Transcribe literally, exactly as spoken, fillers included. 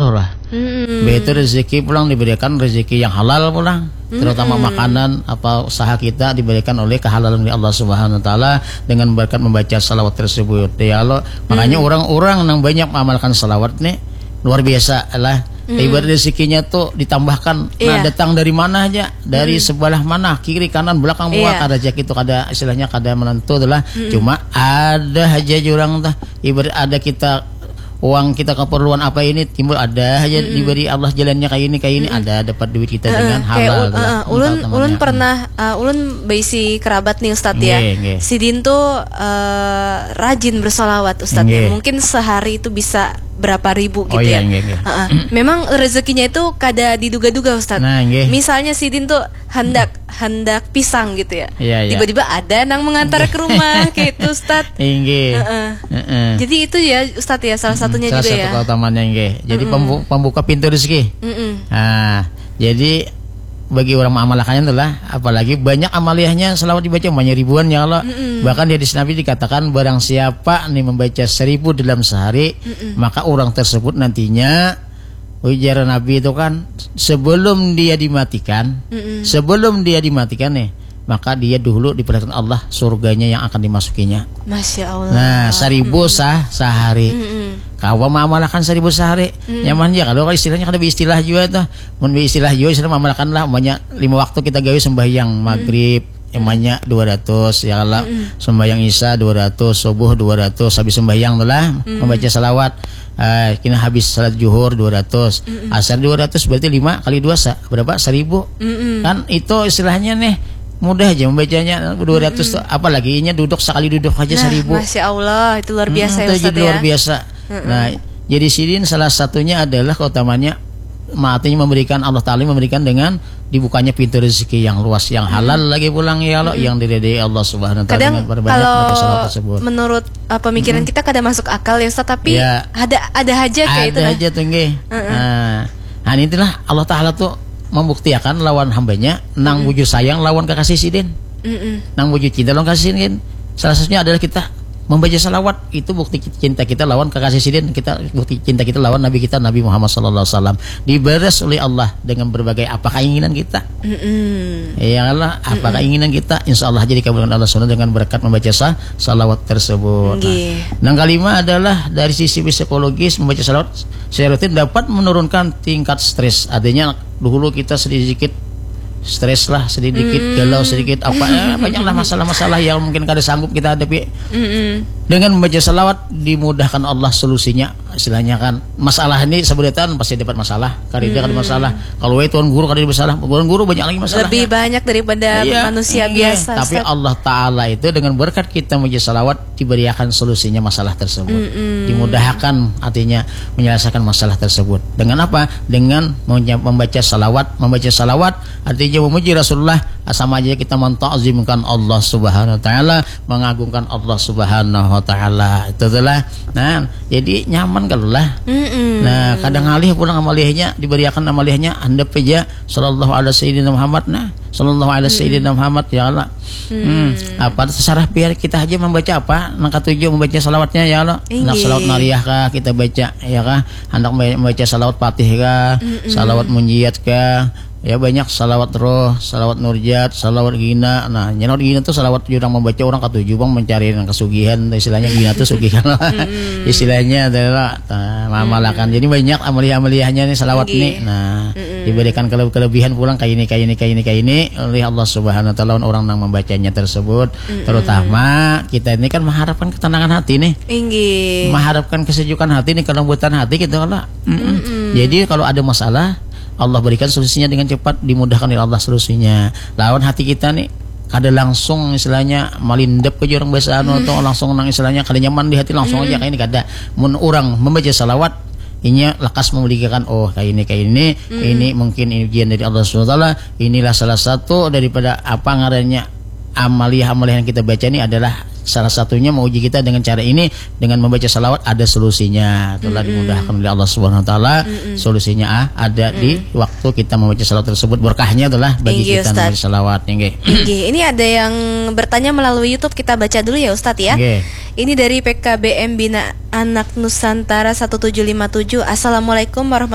Surah. Mm-mm. Begitu rezeki pulang diberikan rezeki yang halal pulang. Terutama Mm-mm. makanan apa usaha kita diberikan oleh kehalalan oleh Allah Subhanahu wa taala dengan berkat membaca salawat tersebut. Ya Allah, makanya Mm. orang-orang yang banyak mengamalkan salawat nih luar biasa lah. Mm-mm. Ibarat rezekinya tuh ditambahkan. Nah, Iya. datang dari mana aja? Dari Mm-mm. sebelah mana? Kiri, kanan, belakang, muka, Iya. kada rezeki itu kada istilahnya kada menentu itulah. Mm-mm. Cuma ada aja jurang tuh. Ibarat ada kita uang kita keperluan apa ini timbul ada aja Mm-mm. diberi Allah jalannya kayak ini kayak ini Mm-mm. ada dapat duit kita Heeh, dengan kayak halal ul- lah. heeh, ulun Entah ulun namanya. pernah uh, ulun berisi kerabat nih Ustadz ya. Nggih, nggih. Sidin tuh uh, rajin bersolawat Ustadz ya. Nggih. Mungkin sehari itu bisa berapa ribu Oh gitu iya, ya. nggih, nggih. Heeh. Memang rezekinya itu kada diduga-duga Ustadz. Nah, nggih. Misalnya sidin tuh hendak hendak pisang gitu ya. Iya, iya. Tiba-tiba ada nang mengantar Nggih. ke rumah gitu Ustadz. Inggih. Heeh. Heeh. Jadi itu ya Ustadz ya salah satunya Salah juga satu ya. keutamaannya nggih. Jadi Mm-mm. pembu- pembuka pintu rezeki. Mm-mm. Nah, jadi bagi orang mengamalkannya itulah apalagi banyak amaliyahnya selawat dibaca banyak ribuan ya Allah. Mm-mm. Bahkan di hadis Nabi dikatakan barang siapa nih membaca seribu dalam sehari, Mm-mm. maka orang tersebut nantinya ujar Nabi itu kan sebelum dia dimatikan, Mm-mm. sebelum dia dimatikan nih, maka dia dulu diperlihatkan Allah surganya yang akan dimasukinya. Masya Allah. Nah, seribu Mm-mm. sah sehari. Mm-mm. Kawa mengamalkan seribu sehari. Mm. Nyaman aja kalau istilahnya kada istilah juga tuh. Mun istilah juga istilah mengamalkan lah, banyak lima waktu kita gawe sembahyang maghrib, emanya dua ratus ya Allah. Mm-mm. Sembahyang isya dua ratus, subuh dua ratus, habis sembahyang tu lah Mm. membaca salawat. Eh, kena habis salat juhur dua ratus. Mm-mm. Asar dua ratus berarti lima kali dua sa- berapa? Seribu. Mm-mm. Kan itu istilahnya nih mudah aja membacanya dua ratus Mm-mm. tu. Apalagi inya duduk sekali duduk aja Nah, seribu. Masya Allah, itu luar biasa Mm-mm, ya itu Ustadz jadi luar ya. biasa. Mm-mm. Nah, jadi sidin salah satunya adalah keutamanya artinya memberikan Allah Ta'ala memberikan dengan dibukanya pintu rezeki yang luas yang halal lagi pulang ya Allah yang diridai Allah Subhanahu wa taala Kadang dengan perbanyak kalau baca salawat tersebut. menurut uh, pemikiran Mm-mm. kita kada masuk akal ya Ustaz, tapi Ya. ada ada aja kayak itu Ada nah. aja tuh nggih. Heeh. Nah, nah itulah Allah Ta'ala tuh membuktiakan lawan hambanya nang Mm-mm. bujur sayang lawan kekasih sidin. Mm-mm. Nang bujur cinta lawan kasih sidin. Salah satunya adalah kita membaca salawat itu bukti cinta kita lawan kekasih sidin kita bukti cinta kita lawan nabi kita Nabi Muhammad sallallahu alaihi wasallam dibalas oleh Allah dengan berbagai apa keinginan kita Mm-mm. ya Allah apa Mm-mm. keinginan kita insya Allah jadi kabulkan Allah subhanahu dengan berkat membaca sa- salawat tersebut Nggih. Nah, yang kelima adalah dari sisi psikologis membaca salawat saya rutin dapat menurunkan tingkat stres artinya dulu kita sedikit stres lah sedikit Mm. galau sedikit apa eh, banyaklah masalah-masalah yang mungkin kada sanggup kita hadapi Mm-mm. dengan membaca salawat dimudahkan Allah solusinya istilahnya kan masalah ini sebenarnya pasti dapat masalah kada ada kada Mm. masalah kalau wae tuan guru kada ada masalah tuan guru banyak lagi masalah Lebih banyak daripada Iya, manusia iya. biasa. Tapi Ustaz. Allah Ta'ala itu dengan berkat kita membaca salawat diberikan solusinya masalah tersebut Mm-mm. dimudahkan artinya menyelesaikan masalah tersebut dengan apa dengan membaca salawat membaca salawat artinya memuji Rasulullah sama aja kita mentakzimkan Allah Subhanahu wa taala mengagungkan Allah Subhanahu wa taala itu itulah nah jadi nyaman kalau lah Mm-mm. nah kadang alih pulang amalihnya diberiakan amalihnya handap aja sallallahu ala sayyidina Muhammad nah sallallahu ala sayyidina Muhammad ya Allah Hmm. Apa terserah biar kita aja membaca apa nang katuju membaca salawatnya ya Allah. Nak salawat nariyah kah kita baca ya kah? Hendak membaca salawat Fatih kah? Mm-mm. Salawat munjiat kah? Ya banyak salawat roh, salawat nurjat, salawat gina. Nah, nyalawat gina tuh salawat orang membaca orang katuju bang mencari yang kesugihan, istilahnya gina tuh sugihan. Mm-mm. Istilahnya adalah uh, mamalakan. Jadi banyak amaliah-amaliahnya nih salawat nih. Nah, Mm-mm. diberikan kele- kelebihan pulang kayak ini kayak ini kayak ini kayak ini oleh Allah Subhanahu wa taala orang yang membacanya tersebut. Mm-mm. Terutama kita ini kan mengharapkan ketenangan hati nih. Inggih. Mengharapkan kesejukan hati nih, kelembutan hati gitu kalau. Mm-mm. Mm-mm. Jadi kalau ada masalah Allah berikan solusinya dengan cepat dimudahkan oleh Allah solusinya. Lawan hati kita nih kada langsung istilahnya malindep ke orang biasa anu atau langsung nang istilahnya kada nyaman di hati langsung aja kayak ini kada mun orang membaca salawat inya lekas memilihkan oh kayak ini kayak ini ini mungkin ini ujian dari Allah subhanahu wa taala inilah salah satu daripada apa ngarannya amaliah-amaliah yang kita baca ini adalah salah satunya menguji kita dengan cara ini dengan membaca salawat ada solusinya telah dimudahkan oleh Allah Subhanahu Wa Taala solusinya ah, ada di waktu kita membaca salawat tersebut berkahnya itulah bagi Inggih, kita Ustaz. Membaca salawat inggih. Inggih. Ini ada yang bertanya melalui YouTube kita baca dulu ya Ustadz ya. Inggih. Ini dari P K B M Bina Anak Nusantara satu tujuh lima tujuh. Assalamualaikum warahmatullahi